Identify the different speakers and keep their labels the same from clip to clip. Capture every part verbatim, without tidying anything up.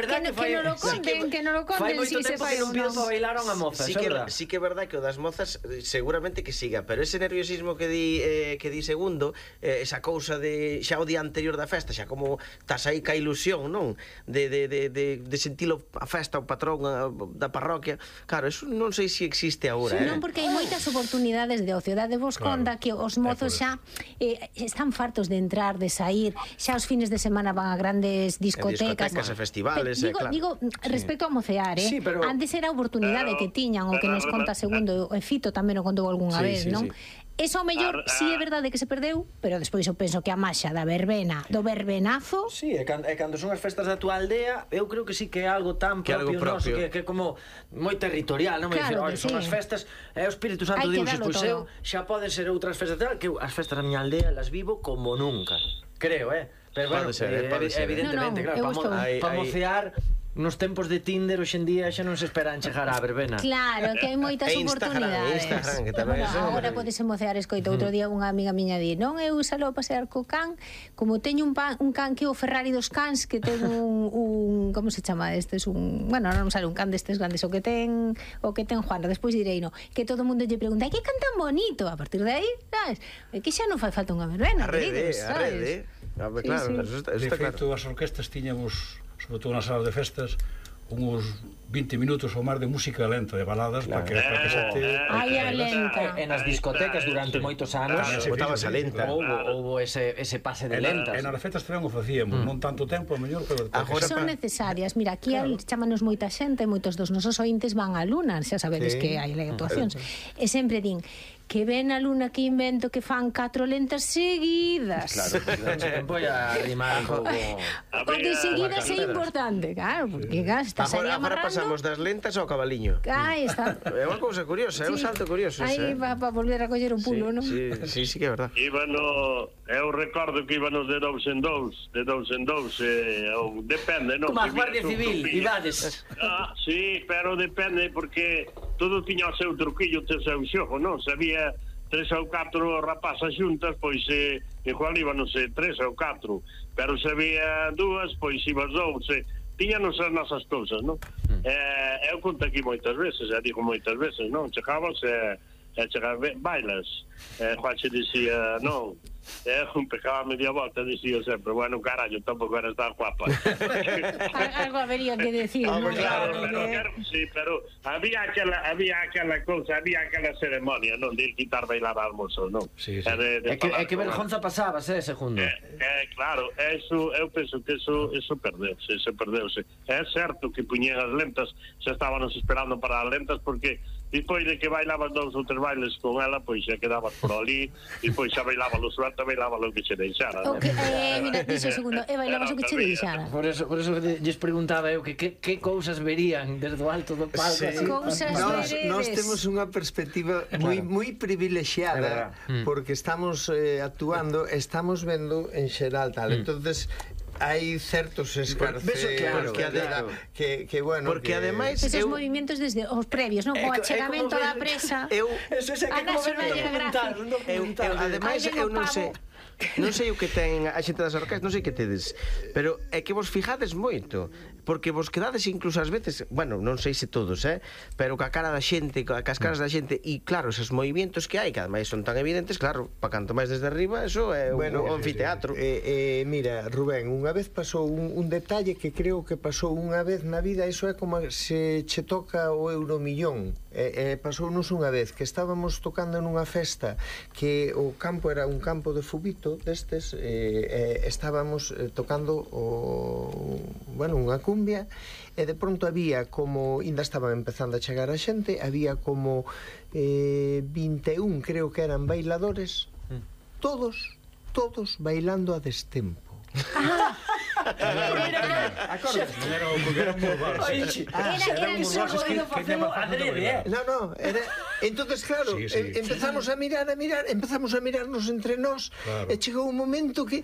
Speaker 1: que non lo conten, que non lo conten si se fai ou non.
Speaker 2: Bailaron a mozas,
Speaker 3: sí que, sí que é verdad que o das mozas seguramente que siga, pero ese nerviosismo que di eh, que di segundo, eh, esa cousa de xa o día anterior da festa, xa como estás aí ca ilusión, non? De, de, de, de, de sentilo a festa, o patrón a, da parroquia. Claro, eso non sei se existe agora,
Speaker 1: sí,
Speaker 3: eh?
Speaker 1: Non, porque hai moitas oportunidades de ocio. Dade vos
Speaker 4: Claro.
Speaker 1: conta que os mozos xa eh, están fartos de entrar, de sair, xa os fines de semana van a grandes discotecas,
Speaker 3: discotecas e festivales,
Speaker 1: Pero, digo,
Speaker 3: eh, claro.
Speaker 1: digo respecto a mocear, eh?
Speaker 2: Sí, pero-
Speaker 1: Antes era a oportunidade
Speaker 5: Pero-
Speaker 1: que tiñan, o que nos
Speaker 5: pero-
Speaker 1: conta segundo, e Fito tamén o contou algunha
Speaker 3: Sí,
Speaker 1: vez,
Speaker 3: sí,
Speaker 1: non?
Speaker 3: sí.
Speaker 1: Eso ao mellor
Speaker 5: Ah,
Speaker 1: si sí é
Speaker 5: ah.
Speaker 1: verdade que se perdeu, pero despois eu penso que a maxa da verbena, do verbenazo,
Speaker 2: Sí, e cando, e cando son as festas da tua aldea, eu creo que sí que é algo tan
Speaker 3: Que
Speaker 2: propio,
Speaker 3: algo propio.
Speaker 2: noso, que, que como moi territorial, non? Me
Speaker 1: Claro
Speaker 2: dicir,
Speaker 1: que
Speaker 2: son
Speaker 1: sí.
Speaker 2: as festas, é o Espírito Santo
Speaker 1: Hai que
Speaker 2: Deus,
Speaker 1: darlo
Speaker 2: pois eu
Speaker 1: todo.
Speaker 2: xa poden ser outras festas tal, que eu as festas da miña aldea las vivo como nunca. Creo, eh? Pero bueno,
Speaker 3: Pode ser, eh, pode
Speaker 2: evi-
Speaker 3: ser.
Speaker 2: evidentemente,
Speaker 1: No, no,
Speaker 2: claro,
Speaker 1: eu
Speaker 2: para mo
Speaker 1: estou-
Speaker 3: Hai-
Speaker 2: pa
Speaker 3: hai-
Speaker 2: mocear nos tempos de Tinder hoxe en día xa non se esperan chegar á verbena.
Speaker 1: claro, que hai moitas
Speaker 3: E Instagram,
Speaker 1: oportunidades.
Speaker 3: Instagram, que tamén
Speaker 1: Bueno,
Speaker 3: é unha
Speaker 1: agora
Speaker 3: maravilla.
Speaker 1: podes mocear, escoito, outro día unha amiga miña di, non, eu salo a pasear co can, como teño un, pan, un can que é o Ferrari dos cans, que ten un, un como se chama estes, un, bueno, non sale un can destes grandes, o que ten o que ten Juana, despois direi, no, que todo o mundo lle pregunta, "Ai, que can tan bonito?" A partir de aí, sabes? É que xa non fai falta unha verbena,
Speaker 3: A rede,
Speaker 1: queridos,
Speaker 3: a
Speaker 1: sabes?
Speaker 3: rede. A ver,
Speaker 1: Sí,
Speaker 3: claro,
Speaker 1: sí.
Speaker 3: eso está, eso
Speaker 4: De
Speaker 3: está
Speaker 4: feito,
Speaker 3: claro.
Speaker 4: as orquestas tiñamos, sobre todo nas salas de festas, uns vinte minutos ou máis de música lenta, de baladas, para que, para que xente...
Speaker 1: Ai, a lenta.
Speaker 2: E nas discotecas durante moitos anos
Speaker 4: Tamén se
Speaker 3: Botaba
Speaker 4: fixo,
Speaker 3: esa
Speaker 4: sí,
Speaker 3: lenta.
Speaker 4: sí.
Speaker 2: houbo, houbo ese, ese pase de
Speaker 4: E na-
Speaker 2: lentas.
Speaker 4: E nas festas tamén o facíamos, non tanto tempo, a mellor, pero...
Speaker 3: Agora
Speaker 1: Son
Speaker 3: pa-
Speaker 1: necesarias. Mira, aquí claro. Chámanos moita xente, moitos dos nosos ointes van á Luna, xa sabedes
Speaker 3: Sí.
Speaker 1: que hai actuacións. E sempre din que ven a Luna que invento que fan catro lentas seguidas.
Speaker 2: Claro, se voy a rimar un pouco.
Speaker 1: Porque seguidas é importante, claro, porque claro, estás aí
Speaker 3: Agora, agora
Speaker 1: amarrando.
Speaker 3: pasamos das lentas ao cabaliño.
Speaker 1: Aí está.
Speaker 3: É unha cousa curiosa, é un
Speaker 1: Sí.
Speaker 3: salto curioso
Speaker 1: Aí
Speaker 3: ese, eh?
Speaker 1: va para volver a coller o pulo, non?
Speaker 3: Sí, sí, sí que é verdad.
Speaker 5: Íbano, eu recordo que íbanos de dous en dous, de dous en dous, eh, ou depende, non?
Speaker 2: Como a
Speaker 5: Se
Speaker 2: Guardia
Speaker 5: viras un
Speaker 2: Civil,
Speaker 5: truquillo.
Speaker 2: Ibades.
Speaker 5: Ah, sí, pero depende, porque todo tiña o seu truquillo, o seu xogo, non? Se había tres ou catro rapazas xuntas, pois eh, igual íbanos eh, tres ou catro, pero se había dúas, pois ibas dous, eh, tiñanos as nosas cousas, non? Mm. Eh, eu conto aquí moitas veces, e digo moitas veces, non? Chegabas e eh, eh, chegabas, bailas, eh, Juanxe dicía, non, eh, un pecaba media volta, dicía sempre, bueno, carallo, tampouco eres tan guapa.
Speaker 1: Algo habería que decir,
Speaker 3: Ah,
Speaker 1: non?
Speaker 3: claro,
Speaker 1: Porque-
Speaker 5: Pero, claro, sí, pero había aquela, había aquela cousa, había aquela ceremonia, non, de quitar bailar al mozo, non?
Speaker 4: Sí, sí.
Speaker 5: E de, de
Speaker 2: É que, é
Speaker 5: falar
Speaker 2: que
Speaker 5: con
Speaker 2: vergonza pasabas, eh, segundo.
Speaker 5: Eh, eh, claro, eso, eu penso que eso, eso perdeuse, se perdeuse. É certo que puñen as lentas, xa estábamos esperando para as lentas, porque despois de que bailabas dous ou tres bailes con ela, pois xa quedabas por ali, e pois xa bailaba lo suelta, bailaba lo que se deixara.
Speaker 1: O
Speaker 5: non?
Speaker 1: que, eh, mira, dixo segundo, e bailabas o que che deixara.
Speaker 2: Por eso, por eso lles preguntaba eu que que, que cousas verían desde o alto do palco,
Speaker 6: Sí.
Speaker 2: así.
Speaker 1: Cousas
Speaker 6: Nos,
Speaker 1: veredes.
Speaker 6: nos temos unha perspectiva moi moi
Speaker 2: É
Speaker 6: privilexiada
Speaker 2: verdad.
Speaker 6: porque estamos eh, actuando, estamos vendo en xeral tal. Entonces hai certos escarceos
Speaker 3: Beso, claro,
Speaker 6: que,
Speaker 3: claro.
Speaker 6: que, que bueno
Speaker 3: Porque
Speaker 6: que...
Speaker 3: ademais
Speaker 1: Esos
Speaker 3: eu
Speaker 1: movimentos desde os previos, non?
Speaker 3: É
Speaker 1: O
Speaker 3: co- é
Speaker 1: achegamento
Speaker 2: como
Speaker 1: da
Speaker 2: ver-
Speaker 1: presa.
Speaker 3: eu
Speaker 2: Eso é que
Speaker 1: A
Speaker 2: como ver un
Speaker 1: National
Speaker 2: documental,
Speaker 1: Geographic.
Speaker 2: un
Speaker 3: Eu,
Speaker 2: documental.
Speaker 3: eu, ademais,
Speaker 1: Aí ven
Speaker 3: eu
Speaker 1: o
Speaker 3: non
Speaker 1: pavo.
Speaker 3: sei non sei o que ten a xente das orquestas, non sei que tedes, pero é que vos fijades moito, porque vos quedades incluso ás veces, bueno, non sei se todos, eh, pero ca cara da xente, ca cas caras da xente, e claro, esos movimentos que hai, que ademais son tan evidentes, claro, pa canto máis desde arriba, eso é un,
Speaker 6: Bueno,
Speaker 3: un anfiteatro.
Speaker 6: Eh, eh, mira, Rubén, unha vez pasou un, un detalle que creo que pasou unha vez na vida, iso é como se che toca o euromillón. Eh, eh, pasounos unha vez que estábamos tocando nunha festa que o campo era un campo de fubito destes, eh, eh, estábamos eh, tocando o, bueno, unha cumbia, e de pronto había como, ainda estaban empezando a chegar a xente, había como eh, vinte e un, creo que eran bailadores, todos, todos bailando a destempo.
Speaker 4: Era un era un burbar, sí.
Speaker 2: Oixe,
Speaker 1: Era-
Speaker 2: xa
Speaker 1: era
Speaker 2: ten
Speaker 1: el
Speaker 2: un
Speaker 1: sol
Speaker 2: burbar que
Speaker 4: que
Speaker 2: facelo
Speaker 4: llama facendo
Speaker 2: adrede, eh.
Speaker 4: bailar.
Speaker 6: No, no, era... Entonces, claro,
Speaker 4: Sí, sí.
Speaker 6: em- empezamos a mirar, a mirar, empezamos a mirarnos entre nós,
Speaker 4: Claro.
Speaker 6: e chegou un momento que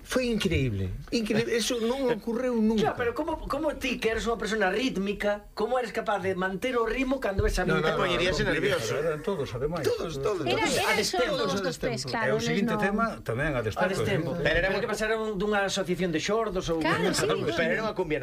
Speaker 6: foi increíble, increíble, eso non ocorreu nunca.
Speaker 2: Xa, pero como, como ti, que eres unha persona rítmica, como eres capaz de manter o ritmo cando ves a mí?
Speaker 6: No, no,
Speaker 3: Te poñeríase
Speaker 6: no,
Speaker 3: nervioso.
Speaker 4: Eran todos, ademais.
Speaker 6: Todos, todos.
Speaker 1: Era,
Speaker 6: todos.
Speaker 1: era
Speaker 2: A
Speaker 1: só
Speaker 2: destempo,
Speaker 1: dos
Speaker 6: a
Speaker 1: dos tres,
Speaker 6: destempo.
Speaker 1: claro.
Speaker 4: E o seguinte
Speaker 1: eles non-
Speaker 4: tema tamén a
Speaker 2: A
Speaker 4: destempo.
Speaker 2: destempo.
Speaker 3: Pero era
Speaker 2: Pero
Speaker 3: unha-
Speaker 2: que pasaron dunha asociación de xordos ou...
Speaker 1: Claro, sí.
Speaker 3: Pero era unha cumbia